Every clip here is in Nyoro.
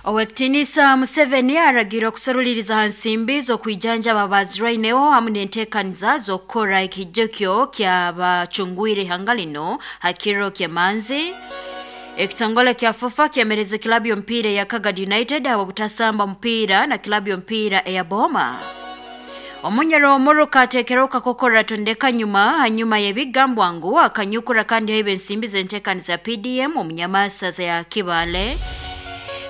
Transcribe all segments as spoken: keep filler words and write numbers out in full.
Owekitinisa Museveni aragira okuseruliriza ha nsimbi z'okwijanjaba abazirwaineho hamu n'enteekaniza z'okukora ekijukyo ky'abacungwire ihanga lino ha kiro ky'emanzi. Ekitongole kya FUFA kyemereza kilabu y'omupiira eya Kagadi United ahabw'obutasamba mupiira na kilabu y'omupiira eya Boma. Omunyoro omuruka ateekerwa kakokora tondeka nyuma hanyuma y'ebigambwa ngu akanyukura kandi haiba ensimbi z'enteekaniza P D M omunyamasaza ya Kibale.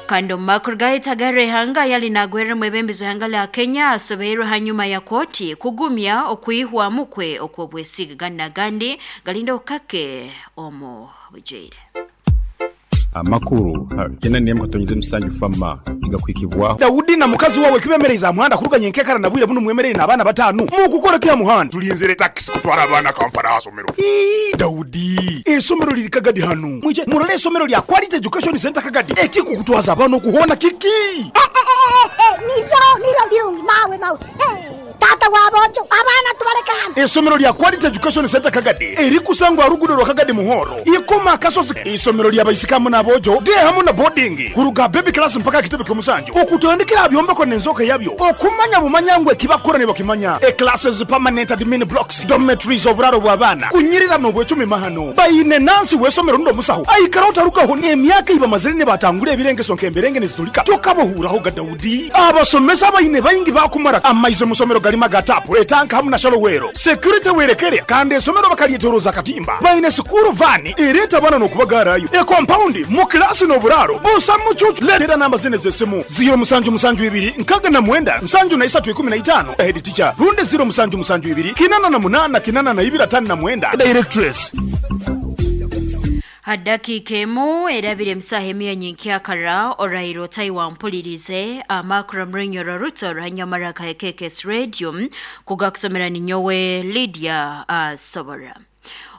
Kandi omu makuru gahitagara ihanga yali nagweremu ebembezo ihanga lya Kenya asobeirwe hanyuma ya koti kugumya okwihwamu kwe okw'obwesige gandi nagandi galinda okukake omu bujaire. Amakuru kena niyemu katonyize musanju fama igakwikibwaho Daudi na mukazi wawe kibemereza muhanda kuruganya enkekara na bwire buno mwemerere n'abaana batanu mukukora kya muhanda tulinzire taxi kutwara abaana Kampala asomero. Ii, Daudi esomero liri Kagadi hanu mwije murole esomero lya Quality Education Center Kagadi ekikukutwaza abana okuhona kiki. Eh, eh, eh, eh, niryo niryo birungi mawe mawe. Eh, tata wabojo abaana tubaleka hano. Esomero lya Quality Education Center Kagadi erikusangwa rugudo rwa Kagadi Muhoro ikoma kasozi. Isomero lya baisikamu n'abojo de hamu na boarding kuruga baby class mpaka kitebe ky'omusanju okutandikira byombeko n'enzoka yabyo okumanya bumanyangwe kibakora ne bakimanya. E classes permanent admin blocks dormitories oburaro bw'abaana kunyirira n'obwecumi mahano bayine nansi w'esomero ndo musaho aikara otarukaho n'emyaka ibamazire ne batangura ebirengeso nk'emberenge nezitulika tokabohuraho ga Daudi. Abasomesa bayine bayingi bakumara amaize musomero galima gatapu etanka hamu na shalowero security werekere kandi esomero bakalietoroza katimba bayine sukuru vani ereta bana n'okubagarayo e compound mu klasi n'oburaro busa mucucu. Letera namba zine z'essimu zero musanju musanju ibiri nkaga na mwenda nsanju na isatu ikumi na itano head teacher runde zero musanju musanju ibiri kinana na munana kinana na ibiri atano na mwenda directress. Hadakika emu erabire emusaha emiya nyenkyakara orairo Taiwan mpulirize amakuru mrinyoro ruto ruhanyamara ka K K S Radio kugakusomera ninyowe Lydia uh, Sobora.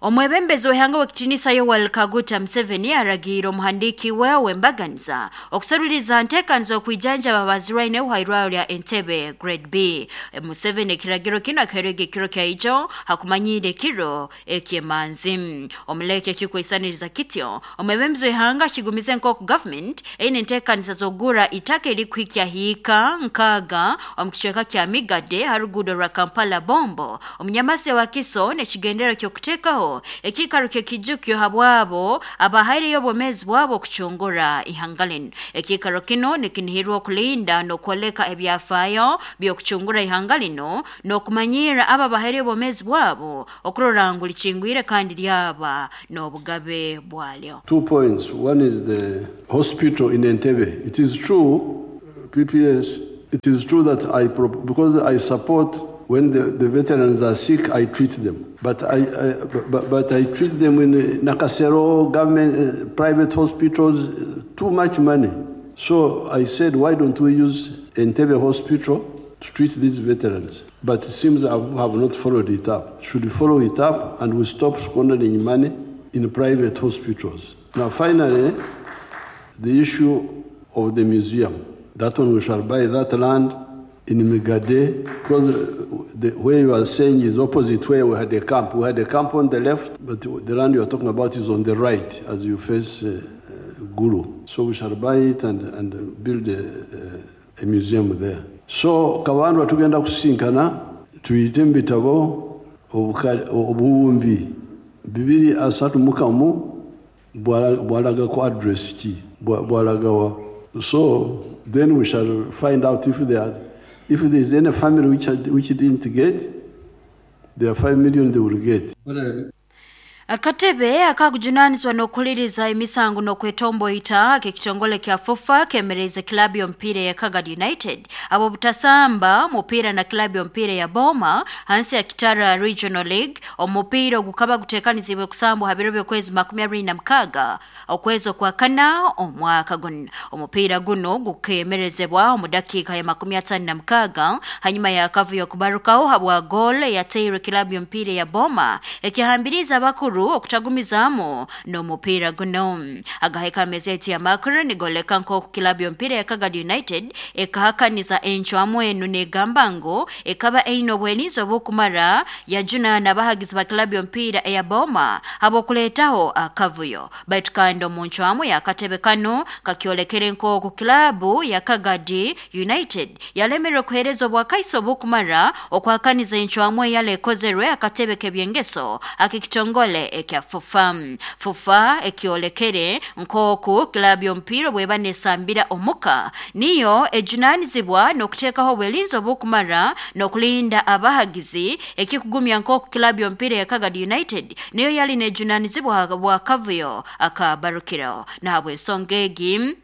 Omwebembezi w'ihanga w'ekitinisa Yoweri Kaguta Museveni aragira omuhandiki we w'embaganiza okuseruliza nteekaniza okwijanjaba abazirwaineho ha irwariro lya Entebbe Grade B. Museveni ekiragiro kino akaherega ekiro kya ijo hakumanyire ekiro eky'emanzi. Omuleke ekikwisaniriza kityo omwebembezi w'ihanga akigumize nk'oku government eine enteekaniza z'okugura itaka erikuhikya hiika nkaaga omu kicweka kya Migade ha ruguudo rwa Kampala Bombo omunyamasi wa Kiso n'ekigendero ky'okuteekaho ekikaro ky'ekijukyo habwabo abahaireyo obwomeezi bwabo okucungura ihanga lino. Ekikaro kino nikinihirwa okulinda n'okwoleka ebyafaayo by'okucungura ihanga lino n'okumanyira abo abahaireyo obwomeezi bwabo okurora ngu likingwire kandi lyaba n'obugabe bwalyo. Two points. One is the hospital in Entebbe. It is true, P P S, it is true that I, because I support when the, the veterans are sick, I treat them. But I, I, but, but I treat them in Nakasero, government, uh, private hospitals, uh, too much money. So I said, why don't we use Entebbe Hospital to treat these veterans? But it seems I have not followed it up. Should we follow it up and we stop squandering money in private hospitals? Now, finally, the issue of the museum. That one we shall buy that land in Migade, because the where you are saying is opposite where we had a camp. We had a camp on the left, but the land you are talking about is on the right as you face uh, uh, Gulu. So we shall buy it and, and build a, a, a museum there. So Kabandwa tugenda kusinkana tuyite mu bitabo obuwumbi bibiri asatu mukamu bwalaga ku address ki bwalagawa. So then we shall find out if there are, if there is any family which, which didn't get, there are five million they will get. Akatebe akakujunanizwa n'okuliriza emisango n'okwetomboita k'ekitongole kya FUFA kemereza kilabu y'omupiira ya Kagadi United abo butasamba mupiira na kilabu y'omupiira ya Boma hansi ya Kitara Regional League. Omupiira ogukaba guteekanizibwe kusambwa ha biro by'okwezi makumi abiri na mukaaga okwezi okwa kana omwaka guno. Omupiira guno gukemerezebwa omu dakiika ya makumi ataano na mukaaga hanyuma ya kavuyo kubarukaho habwa goal yateirwe kilabu y'omupiira ya Boma ekihambiriza abakuru abakuru okutagumizaamu n'omupiira guno. Agaheka amezeti ya makuru nigoleka nk'oku kilabu y'omupiira ya Kagadi United ekahakaniza encwamu enu negamba ngu ekaba eine obwelinzi obukumara yajuna n'abahagizi ba kilabu y'omupiira eya Boma habw'okuleetaho akavuyo. Baitu kandi omu ncwamu y'akatebe kano kakyolekere nk'oku kilabu ya Kagadi United yalemerwe kuheereza obwakaiso obukumara okwakaniza encwamu eyali ekozerwe akatebe k'ebyengeso ak'ekitongole ekya FUFA. FUFA ekyolekere nk'oku kilabu y'omupiira bweba nesambira omuka niyo ejunanizibwa n'okuteekaho obwelinzi obukumara n'okulinda abahagizi, ekikugumya nk'oku kilabu y'omupiira ya Kagadi United niyo yali nejunanizibwa bwakavuyo akabarukiro. Nahabw'ensonga egi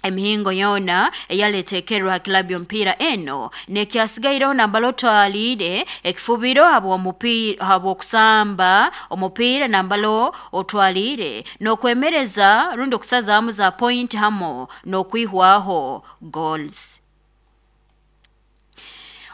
emihingo yona eyaletekerwa ha kilabu y'omupiira eno nekyasigairaho nambala otwaliire ekifubiro habw'omupiira habw'okusamba omupiira nambalo otwaliire n'okwemereza rundi okusazaamu za point hamo n'okwihwaho goals.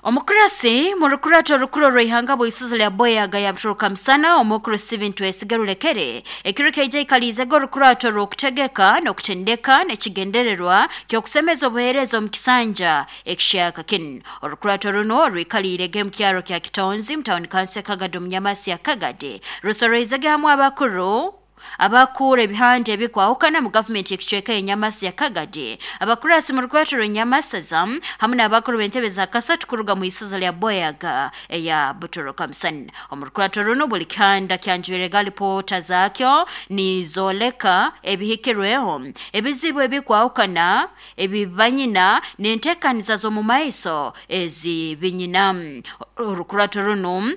Omukurasi mu rukurato rukuru rw'ihanga bw'isuzo lya Boyaga yabituruka misana omukuru Steven Twesiga Rulekere ekiro keija ikaliizego orukurato rw'okutegeka n'okutendeka n'ekigendererwa ky'okusemeza obuheereza omu kisanja ekishaka kinu. Orukurato runo rwikaliirege mu kyaro kya Kitonzi mu tawuni kanso ya Kagadi omu Nyamasi ya Kagadi rusoroizege hamwe abakuru abakura ebihanja ebikwahukana mu gavumenti ekicweka y'Enyamasi ya Kagadi, abakurasi mu rukurato rw'Enyamasaza hamwe n'abakuru b'entebe za kasatu kuruga mu isaza lya Boyaga eya Butoroka Musana. Omu rukurato runo buli kihanda kyanjwirega lipoota zaakyo nizoleka ebihikirweho, ebizibu ebikwahukana ebibanyina n'enteekaniza z'omu maiso ezibinyina. Orukurato runo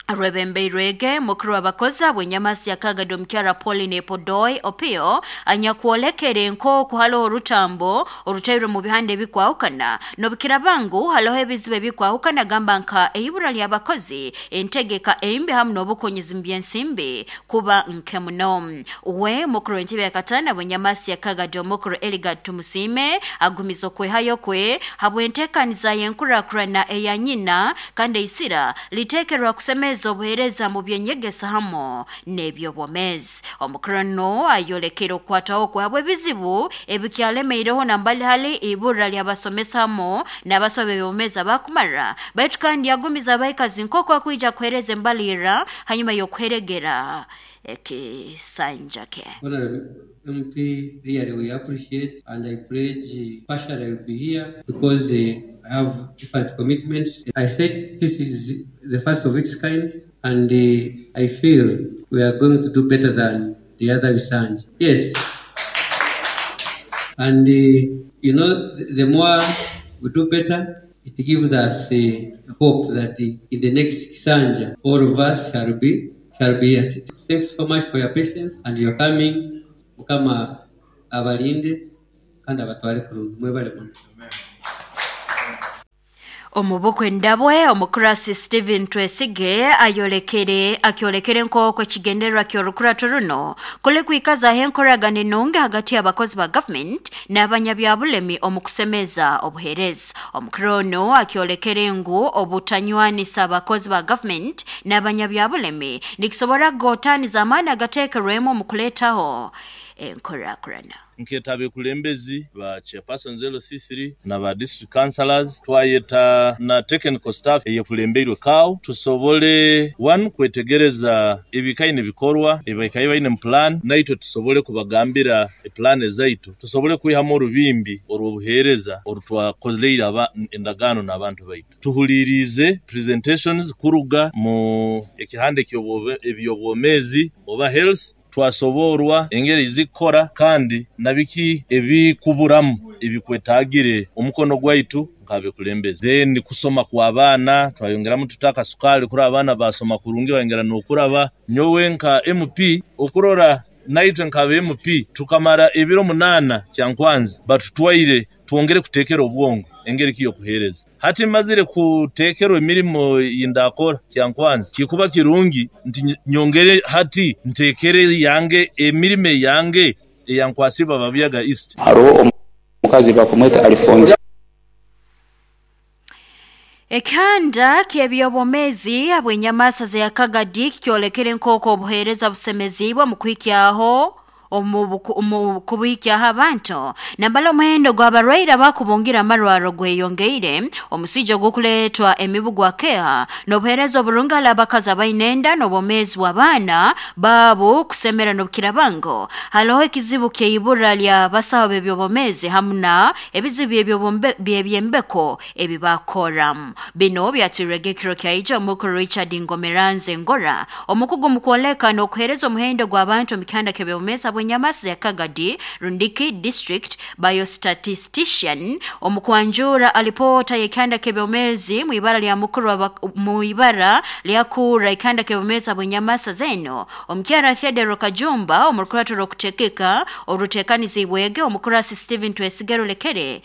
rwebembeirwege mukuru w'abakozi bw'Enyamasi ya Kagadi omukyara Pauline Podoi Opio anyakwolekere nk'oku haliho orutambo orutairwe mu bihanda ebikwahukana n'obukirabangu haliho ebizibu ebikwahukana gamba nka eibura ly'abakozi, entegeka embi hamu n'obukonyezi mu by'ensimbi kuba nke muno. We mukuru w'entebe ya katana bw'Enyamasi ya Kagadi omukuru Eligad Tumusiime agumiza okwehayo kwe habw'enteekaniza y'enkurakurana eya nyina kandi eisira liteekerwa kusemeza obuheereza mu byenyegesa hamo n'ebyobwomeezi. Omukuru ayolekere okukwataho kwabwe ebizibu ebikyalemeireho nambali hali ibura ly'abasomesa hamo n'abasoba ebyobwomeezi abakumara, baitu kandi yagumiza abaikazi nk'oku akwija kuheereza embalirira hanyuma y'okuheregera ekisanja kye. M P, really we appreciate and I pledge partially I will be here because uh, I have different commitments. I said this is the first of its kind and uh, I feel we are going to do better than the other Bisanji. Yes. And uh, you know, the, the more we do better, it gives us uh, hope that uh, in the next Kisanja, all of us shall be, shall be at it. Thanks so much for your patience and your coming. Mukama abalinde kandi abatware kurungi mwebale muno. Omubukwe ndabwe omukurasi Steven Twesige ayolekere akyolekere nk'oku ekigendererwa ky'orukurato runo kuli kwikazaho enkoragana enungi hagati y'abakozi ba gavumenti n'abanyabyabulemi omu kusemeza obuheereza. Omukuru ono akyolekere ngu obutanywanisa abakozi ba gavumenti n'abanyabyabulemi nikisobora kugotaaniza amaani agateekerwemu omu kuleetaho enkorakurana. Nketa abekulembezi ba chairpersons L C three na ba district councillors twayeta na technical staff eyekulembeirwe kawo tusobole one kwetegereza ebikaine bikorwa ebikaine baine mu plan naitwe tusobole kubagambira eplan ezaitu tusobole kwihamu orubimbi orw'obuheereza orutwakoleire aba endagaano n'abantu baitu. Tuhulirize presentations kuruga mu ekihande eby'obwomeezi oba health twasoborwa engeri zikora kandi nabiki ebikuburamu ebikwetagire omukono gwaitu nkabekulembeze. Then kusoma kwa abaana twayongeramu tutaka sukali kuri abaana basoma kurungi bayongera n'okuraba. Nyowe nka M P okurora naitwe nka M P tukamara ebiro munana kyankwanzi batutwaire twongere kutekera obwongo engeri kiyo kuhereza. Hati mazire kutekerwa emirimo yindakora kyankwanzi kikuba kirungi nti nyongere hati ntekere yange emirimo yange eyankwasiba babyaga East. Haro omukazi bakumweta Alphonse. Ekihanda ky'ebyobwomeezi habw'enyamaasa za Kagadi kyolekere nk'oku obuheereza busemeziibwe mu kuhikyaho omu kubuhikyaho abantu nambala omuhendo gw'abarwaire abakubungira amarwaro gweyongeire omuswija ogukuleetwa emibu gwa keha n'obuheereza oburungi hali abakazi abaine enda n'obwomeezi bw'abaana baabo kusemera n'obukirabango. Haloho ekizibu ky'eibura ly'abasaho b'ebyobwomeezi hamu na ebizibu by'ebyembeko ebi bakoramu. Bino byatwirwege ekiro kyaija omukuru Richard Ngomeranze Ngora omukugu mu kwoleka n'okuheereza omuhendo gw'abantu omu kihanda ky'ebyobwomeezi bw'enyamaasa ya Kagadi Rundiki District Biostatistician omukwanjura alipoota y'ekihanda ky'ebyobwomeezi mu ibara lya mukuru mu ibara lyakura ekihanda ky'ebyobwomeezi bw'enyamaasa zeno omukyara Theodore Kajumba omurukurato rw'okutekeka oruteekanizibwege omukurasi Stephen Twesigero Lekere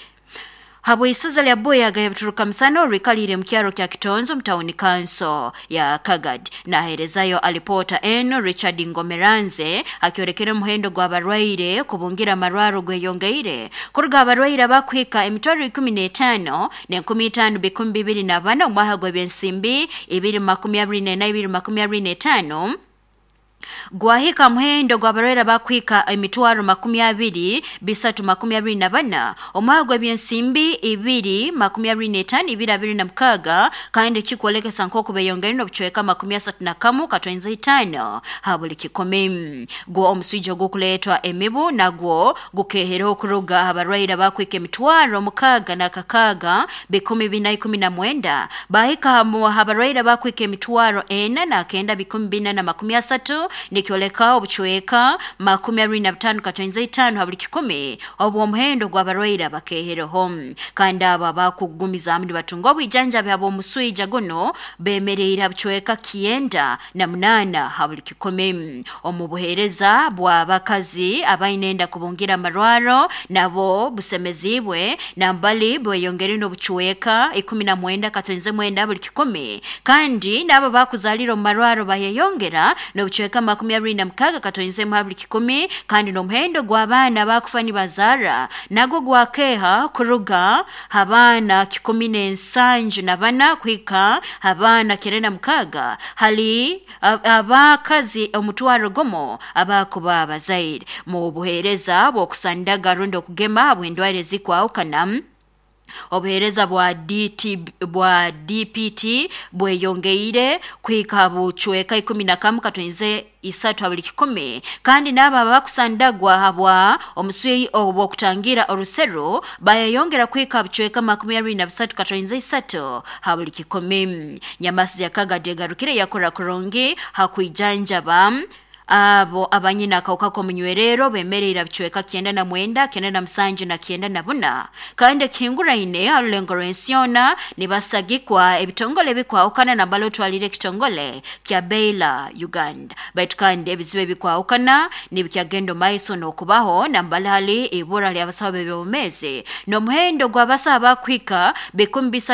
habw'isaza lya Buyaga yabituruka musana orikalire mu kyaro kya Kitonzo mu tawuni kanso ya Kagadi. Naherezayo alipota eno Richard Ngomeranze akyolekera omuhendo gw'abarwaire kubungira amarwaro gweyongeire kuruga abarwaire abakuhika emitwaro ikumi n'etaano n'enkumi itaano bikumi bibiri na bana omwaka gw'ebyensimbi ibiri makumi abiri n'ena ibiri makumi abiri n'etaano gwahika muhendo gw'abarwaire bakuhika emitwaro makumi abiri bisatu makumi abiri na bana omwaka gw'ebyensimbi ibiri makumi abiri n'etaano ibiri abiri na mukaaga kandi kikwolekesa nk'oku beyongere n'obucweka makumi asatu na kamu katwenza itaano ha buli kikumi. Gwo omuswija ogukuleetwa emibu nagwo gukehera okuruga abarwaire bakuhika emitwaro mukaaga na kakaaga bikumi bina ikumi na mwenda bahika abarwaire bakuhika emitwaro ena na kenda bikumi bina na makumi asatu nikyoleka obucweka makumi abiri na butaano katwenza itaano ha buli kikumi obwo omuhendo gw'abarwaire abakehereho. Kandi abo abakugumizaamu nibatunga obwijanjabi habw'omuswija guno bemereire bucweka kyenda na munaana ha buli kikumi. Omu buheereza bw'abakazi abaine enda kubungira amarwaro nabo busemeziibwe nambali bweyongere n'obucweka ikumi na mwenda katwenze mwenda buli kikumi kandi n'abo bakuzaalira omu marwaro bayeyongera n'obucweka makumi abiri na mukaaga katwenze mu buli kikumi kandi n'omuhendo gw'abaana bakufa nibazaara nagwo gwakeha kuruga abaana kikumi n'ensanju na bana kuhika abaana kyenda na mukaaga hali abakazi omutwaro gumu abakuba abazaire. Mu buheereza bw'okusandaga rundi okugema bw'endwaire ezikwahukana obuheereza bwa D T bwa D P T bweyongeire kuhika bucweka ikumi na kamu katwenze isatu buli kikumi kandi n'abo abakusandagwa habwa omuswi obw'okutangira orusero bayeyongera kuhika bucweka makumi abiri na bisatu katwenze isatu ha buli kikumi. Nyamasi ya Kagadi egarukire yakora kurungi hakwijanjaba abo abanyina akawuka k'omunywerero bemereire bucweka kyenda na mwenda kyenda na musanju na kyenda na buna kandi ekihinguraine ha rulengo rw'ensiona nibasagikwa ebitongole bikwahukana nambala otwalire ekitongole kya Baylor Uganda. Baitu kandi ebizibu ebikwahukana nibikyagenda maiso n'okubaho nambala hali ibura ly'abasaho b'ebyobwomeezi n'omuhendo gw'abasaho abakuhika bikumi bisatu